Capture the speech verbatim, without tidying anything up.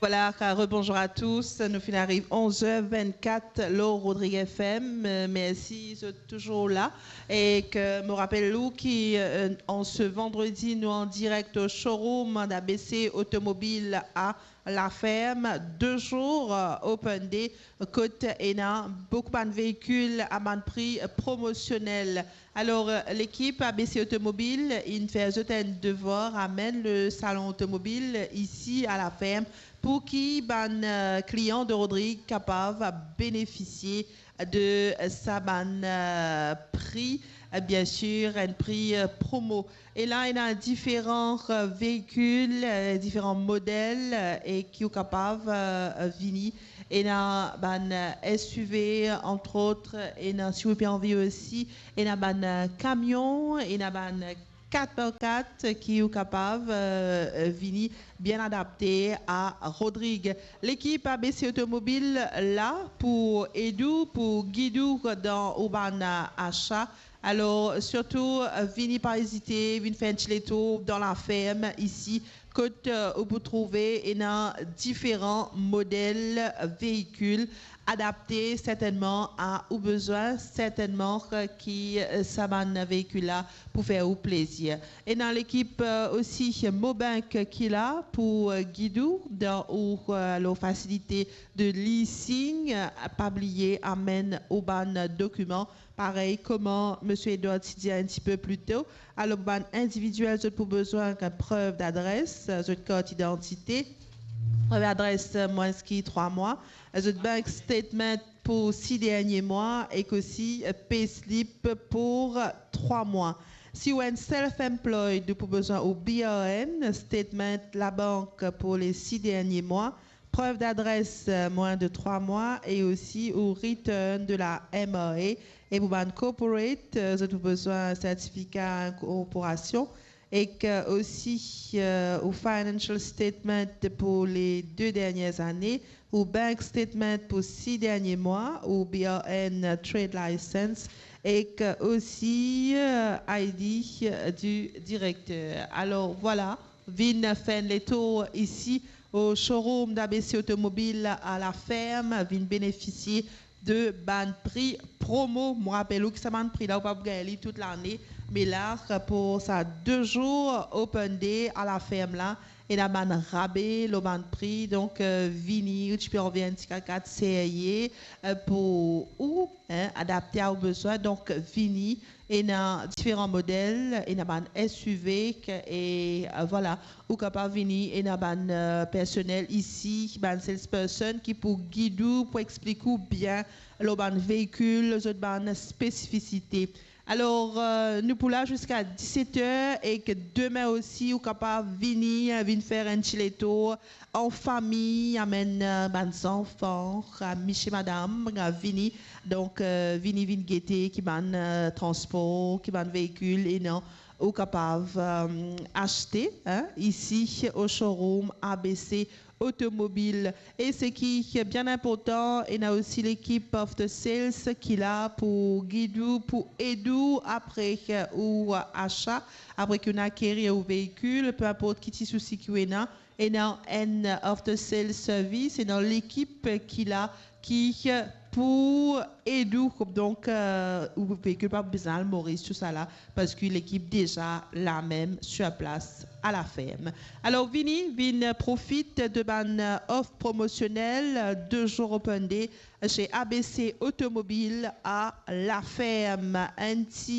Voilà, rebonjour à tous. Nou finn ariv onz er vennkat lor Rodrig F M. Euh, mersi, zot touzour la. Ek mo rapel ou ki, euh, an se vandredi, nou an direk o showroom d'A B C Automobile à La Ferme, de zour, euh, open day, kot ena boukou bann veikil a bann pri promosionel. Alor, euh, lekip A B C Automobile inn fer zot enn devwar, amenn le salon otomobil isi a La Ferme pou ki bann, euh, klian de Rodrig kapav benefisie de sa bann, euh, pri, euh, bien sir, enn pri, euh, promo. E la, ena diferan, euh, veikil, euh, diferan model, euh, e ki ou kapav, euh, vini. Ena bann, euh, S U V, entre autres, ena, si ou pe anvi osi, ena bann, euh, kamion, ena bann, euh, kat par kat ki ou kapav, euh, euh, vini bien adapte a Rodrig. Lekip A B C Automobile la pou ed ou, pou gid ou dan ou bann, euh, asa. Alor, sirtou, euh, vini pa ezite, vinn fer enn ti letour dan La Ferme isi, kot, euh, ou pou trouve ena diferan model veikil adapte sertennman a ou bezwin, sertennman, euh, ki, euh, sa bann veikil la pou fer ou plezir. Ena lekip, euh, osi Mobank ki la pou, euh, gid ou dan ou, euh, lor fasilite de leasing. Euh, pa bliye amenn ou bann dokiman, parey kouma Misie Edward ti dir enn tipe pli to. Alor, bann individiel, zot pou bezwin enn prev d'adres, zot kart idantite, prev adres, euh, mwins ki trwa mwa, zot bank statement pou sis dernie mwa, ek osi, euh, payslip pou trwa mwa. Si ou enn self-employed, ou pou bezwin ou B R N, statement labank pou le sis dernie mwa, prev d'adres, euh, mwins de trwa mwa, e osi ou return de la M R A. E pou bann corporate, euh, zot pou bezwin sertifika inkorporasion, ek, euh, osi, euh, ou financial statement pou le de dernie ane, ou bank statement pou sis dernie mwa, ou B R N trade license, ek, euh, osi, euh, I D, euh, du directeur. Alor, vwala, vinn fer enn letour isi o showroom d'A B C Automobile à La Ferme, vinn benefisie de bann pri promo. Mo rapel ou ki sa bann pri la, ou pa pou gagn li tout lane, me la, pou sa de zour open day à La Ferme la, ena bann rabe lor bann pri. Donk, euh, vini, ou ti pe anvi enn ti kakat serye, euh, pou ou, hein, adapte a ou bezwin. Donk, vini, ena diferan model, ena bann S U V, e, euh, vwala, ou kapav vini, ena bann, euh, personel isi, bann salesperson ki pou gid ou, pou explik ou bien lor bann veikil, zot bann spesifisite. Alor, euh, nou pou la ziska diset er, ek demin osi, ou kapav vini, euh, vinn fer enn ti letour an fami, amenn, euh, bann zanfan, euh, misie, madam, euh, vini. Donk, euh, vini, vinn gete ki bann, euh, transpor, ki bann veikil ena ou kapav, euh, aste, hein, isi o showroom A B C Automobile. E seki bien inportan, ena osi lekip after sales ki la pou gid ou, pou ed ou apre ou asa, apre ki ou inn akeri ou veikil, pe inport ki ti sousi ki ou ena, ena enn after sales service, ena lekip ki la ki pou ed ou. Donk, euh, ou veikil pa bizin al Moris, tousala, parski lekip deza la mem sur place à La Ferme. Alor, vini, vinn profit de bann, euh, off promosionel, euh, de zour open day chez A B C Automobile à La Ferme. Enn ti